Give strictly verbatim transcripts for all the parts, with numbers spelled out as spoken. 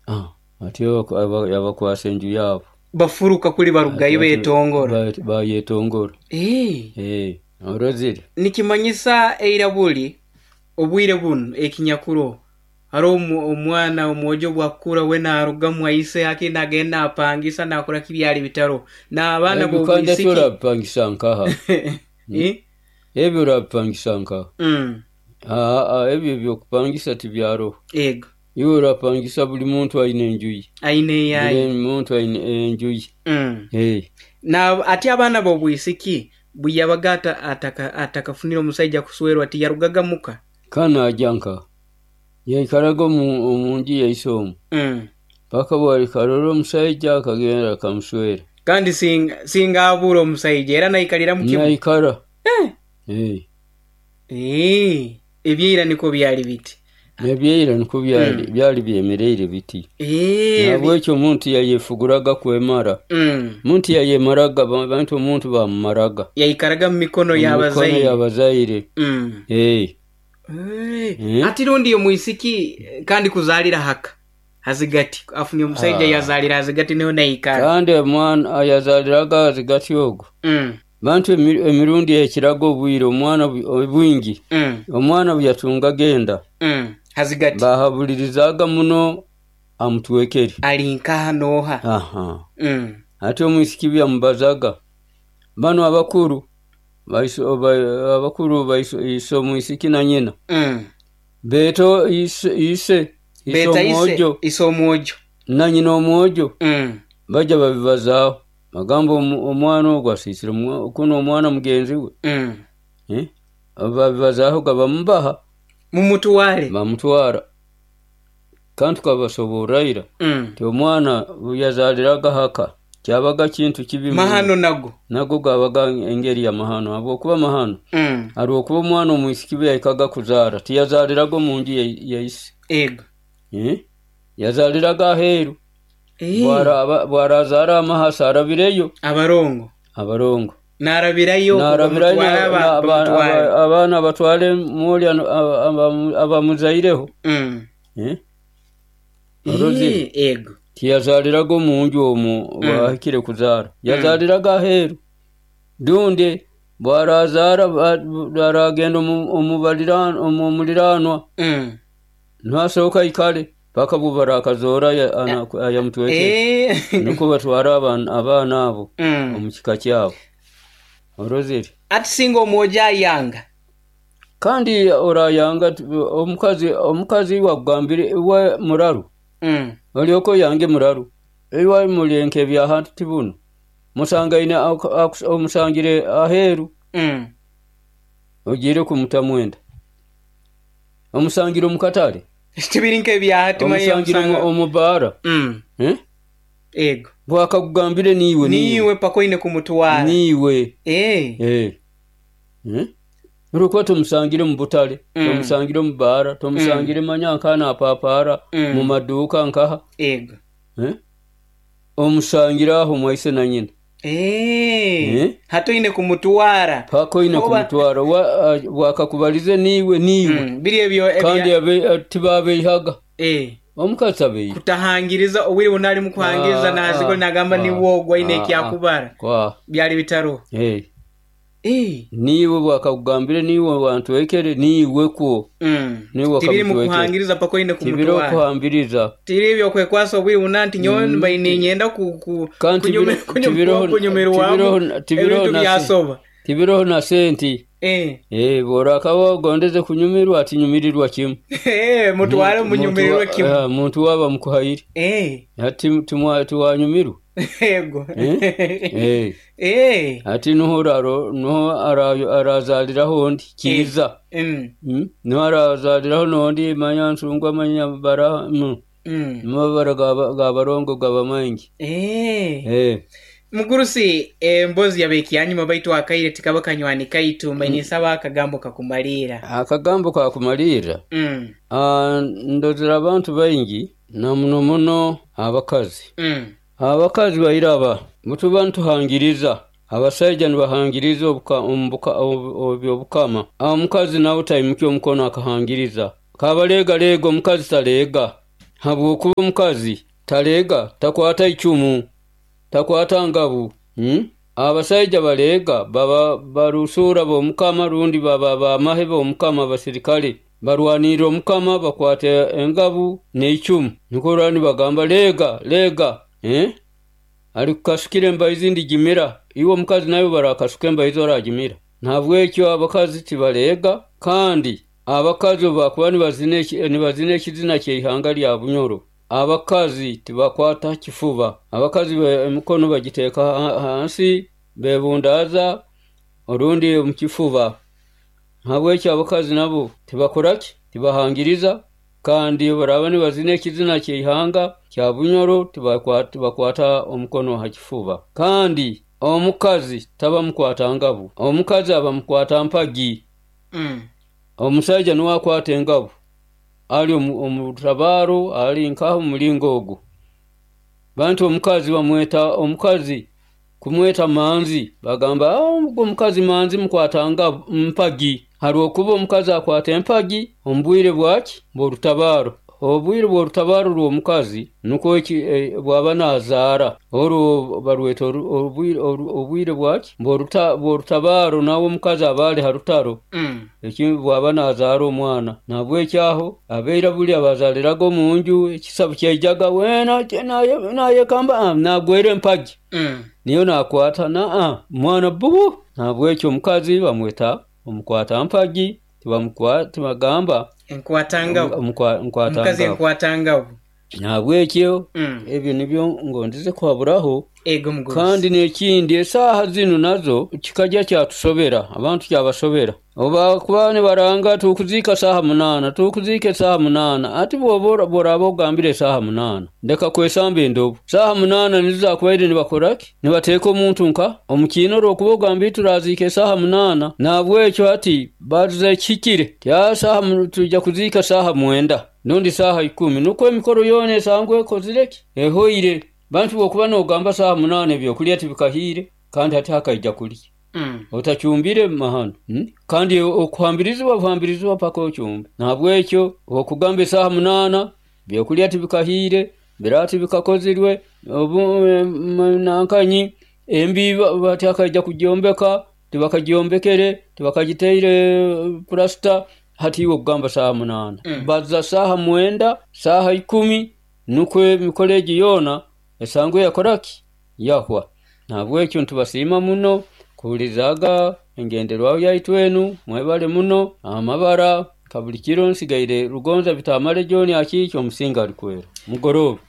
Ah, ati aba- yabakwasa enju yaabo. Bafuruka kuli barugayo beetongora. Ba- bayetongora. Eh. Eh, orozire. Nikimanyisa eira buli obwire bunu ekinyakuro hariho omu- omwana omwojo bwakukura we narugamu aise haki nagenda napangisa nakora kibyali bitaro n'abaana Ebyo kandi ati b'obwisiki. orabipangisa nkaha? Eh? Ebyo orabipangisa nkaha? Mm. Ah, ah, ebyo ebyokupangisa tibyaroho. Ego. Iwe orapangisa, buli muntu aine enju ye. Aine eyaye. Buli muntu aine enju ye. Mm. Eh. Na ati abaana b'obwisiki bwe yabaga ata- ataka atakafunire omusaija kuswerwa, tiyarugaga muka? Kana ajya nkaha? Yaikaraga omu omu nju yaise omu Mm. paka bwalikarora omusaija akagenda akamuswera. Kandi singa singa abura omusaija era naikalira mu kimu? Naikara. Eh. Eh. Eh, ebyeira niko byali biti. Ebyeira niko byali byali byemereire biti. Eh, Nabwekyo omuntu yayefuguraga kwemara. mm. Omuntu yayemaraga, bantu omuntu bamumaraga. Yaikaraga mu mikono Mu mikono y'abazaire. Y'abazaire. Mm. Eh. Eh, Eh. Ati rundi omwisiki eh, kandi kuzaalira haka hazigati afunye omusaija, Ah. yazaalira hazigati niho naikara. Kandi omwana ayazaliraga hazigati ogwo, mm. bantu emi- emirundi ekiraga obwire omwana bu- bwingi, Mm. omwana bwe yatungaga enda, Mm. hazigati bahabulirizaga muno amutwekere. Ali nkaha nooha? Aha. mm. Ate omwisiki byamubazaga bano abakuru baiso- ba- abakuru baiso- ise omwisiki na nyina, Mm. beto ise ise ise Beta ise omwojo ise omwojo na nyina omwojo, mm. bajja babibazaaho, bagamba omu- omwana ogwo asiisire omwa- kuno omwana mugenzi we. Mm. Eh? Babibazaaho gabamubaha. Mumutwale. Bamutwara, kandi tukabasoborra ira mm. ti omwana yazaaliraga haka kyabaga kintu kibi muno. Mahano nago. Nago gabaga engeri ya mahano, habwokuba mahano, mm. habwokuba omwana omwisiki bwe yahikaga kuzaara tiyazaaliraga omu nju ya- ya ise. Ego. Eh? Yazaaliraga aheeru. Eh. Bwara- bwarazaara amahasa arabireyo. Abarongo. Abarongo. Narabirayo. Narabirayo. Bamutwale aba- na- aba- bamutwale. aba- abaana batwale mwoli abamuzaireho. Mm. Eh? Orozire? Eh, ego. Tiyazaaliraga omu nju omwo bwahikire kuzaara, yazaaliraga aheeru. Dundi bwarazaara ba- aragenda omu- omu balira- omu muliranwa, Mm. nasooka ikale paka bwe barakazoora ayamutwekere. Eh. Nukwo batwara abaana abaana abo Mm. omu kika kyabo, orozire? Ati singa omwojo ayanga? Kandi orayanga t- omukazi omukazi wakugambire iwe muraru, mm. olyoka oyange muraru, iwe mulenke ebyahantu tibuno musangaine aku- aku- omusangire aheeru, Mm. ogiire kumuta mwenda, omusangire omukatale. Tibiri nk'ebyahati. Omusangire omu- omu baara. mm. Eh? Ego. Bwakakugambire niiwe. Niiwe paka oine kumutwara. Niiwe. Eh. Eh. Eh? Olwokuba tomusangire mu butale, Mm. tomusangire mu baara, tomusangire manya nkaha napapaara, Mm. mu maduuka nkaha. Ego. Eh? Omusangire aho mwaise na nyina. Eh. Eh? Hati oine kumutwara. Paka oine Oba- kumutwara. Wa- a- bwakakubalize niiwe, niiwe. Mm. Biri ebyo ebya- Kandi abe- tibabeihaga. Eh. Omukazi abeiha. Kutahangiriza obwire buna ali mukuhangiriza, Ah, naziko ah, nagamba ah, niwoogwa aine ah, ekyakubara. Kwa Byali bitaro. Eh. Eh. Niiwe bwakakugambire niiwe wantwekere, niiwe kwo. Mm. Niwe Tibiri wakamutwekere. mukuhangiriza paka oine Tibiri kumutwara. okuhambiriza. Tiri ebyo kwekwasa obwire buna nti nyowe mbaine ninyenda ku- ku- Kandi kunyume- tibiro- kunyumirwa- tibiroho- kunyumirwamu tibiroho- tibiroho ebintu na se- byasoba. Tibiroho na senti. Eh. Eh, bworakaba ogondeze kunyumirwa, atinyumirirwa kimu. Eh, mutware munyumirirwe Muntu wa- kimu. ah, muntu waba mukuhaire. Eh. Ati timwa- tiwanyumirwa. Ego. Eh? Eh. Eh. Ati nuho oraro nuho ara- arazaliraho ondi kiiza. Mm. Mm? Nuho arazaliraho nondi manya nsungwa manya bara mm. Mm. Amabara gaba- gabarongo gaba maingi. Eh. Eh. Mugurusi, embozi yabekyanyuma, baitu akaire tikaba kanywani kaitu, mbaine nsaba akagambo kakumalira. Akagambo kakumalirra. Mm. Ah, ndozera abantu baingi na muno muno abakazi. Mm. Abakazi bairaba mutuba nituhangiriza, abasaija nibahangiriza obuka- omubuka- obu- obyobukama, omukazi nawe taimukya omukono akahangiriza, kabaleegaleega, omukazi taleega. Habwokuba omukazi taleega, takwata icumu, takwata ngabu, hmm? Abasaija baleega baba barusura b'omukama rundi baba bamahe b'omukama, abasirikale barwanirra omukama, bakwata engabu n'eicumu, nukwo orora nibagamba leega leega, eh? Alikukasukira embaizi ndigimira, iwe omukazi nawe barakasuka embaizi oragimira. Nahabwekyo abakazi tibaleega, kandi abakazi obu bakuba nibazina nibazina ekizina ky'eihanga lya Bunyoro, abakazi tibakwata kifuba, abakazi emikono bagiteeka hansi bebundaaza orundi omu kifuba. Nahabwekyo abakazi nabo tibakora ki? Tibahangiriza, kandi obu baraaba nibazina ekizina ky'eihanga kya Bunyoro tibakwata omukono ha kifuba. Kandi omukazi taba mukwata ngabu, omukazi aba mukwata mpagi. Mm. Omusaija nuwe akwata engabu, ali omu rutabaaro, ali nkaha omu mulingo ogu. Bantu omukazi bamweta omukazi kumweta manzi, bagamba ogu omukazi manzi mukwata ngabu mpagi, habwokuba omukazi akwata empagi omu bwire bwaki? Bw'orutabaaro. Obwire bw'orutabaaro rw'omukazi nukwo eki bwaba nazaara, oru barweta obwire bwaki? Bw'orutabaaro, nawe omukazi aba ali ha rutaro, Mm. eki bwaba nazaara omwana. Nahabwekyo aho abaira buli abazaaliraga omunju, ekisabu kyaijaga weena nayekamba nagwera empagi, Mm. niyo nakwata naa mwana bubu. Nahabwekyo omukazi bamweta omukwata mpagi, tibagamba enkwata ngabu, omukazi nkwata enkwata ngabu. Nahabwekyo Mm. ebyo nibyo ngondeze kuhaburaho. Ego mugurusi. Kandi n'ekindi, esaaha zinu nazo kikajja kyatusobera, abantu kyabasobera. Obu bakuba nibaranga tukuziika saaha munaana, tukuziika esaaha munaana, ati bwoba bworaaba ogambire esaaha munaana, ndeka kwesamba endobo. Saaha munaana nizo zakubaire nibakora ki? Nibateeka omuntu nka omu kiina orwokuba ogambire turaziika esaaha munaana. Nahabwekyo hati baruza ekihikire, ti saaha twija kuziika saaha mwenda rundi saaha ikumi, nukwo emikoro yoona esangwe ekozire ki? Ehoire. Bantu bwokuba nogamba saaha munaana ebyokulya tibikahiire, kandi hati hakaija kulya. Mm. Otacumbire mahano, hmm? Kandi okuhambirizibwa buhambirizibwa paka ocumbe. Nahabwekyo okugamba esaaha munaana byokulya tibikahiire, biraati bikakozirwe, obu nankanyi embi hati hakaija kugyombeka, tibakagyombekere, tibakagiteire purasita, hati iwe okugamba saaha munaana. Mm. Baza saaha mwenda, saaha ikumi, nukwo emikoro egi yoona esangwe yakora ki? Yahwa. Nahabwekyo nitubasiima muno kuhulirizaaga engenderwaho yaitu enu, mwebale muno. Amabara nka buli kiro nsigaire Rugonza Bitamale John Akiiki omusinga alikwera. Mugorooba.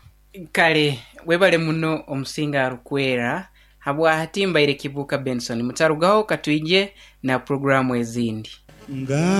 Kale webale muno omusinga arukwera, habwa hati mbaire Kibuuka Benson, mutarugaho katwije na puroguramu ezindi. Nga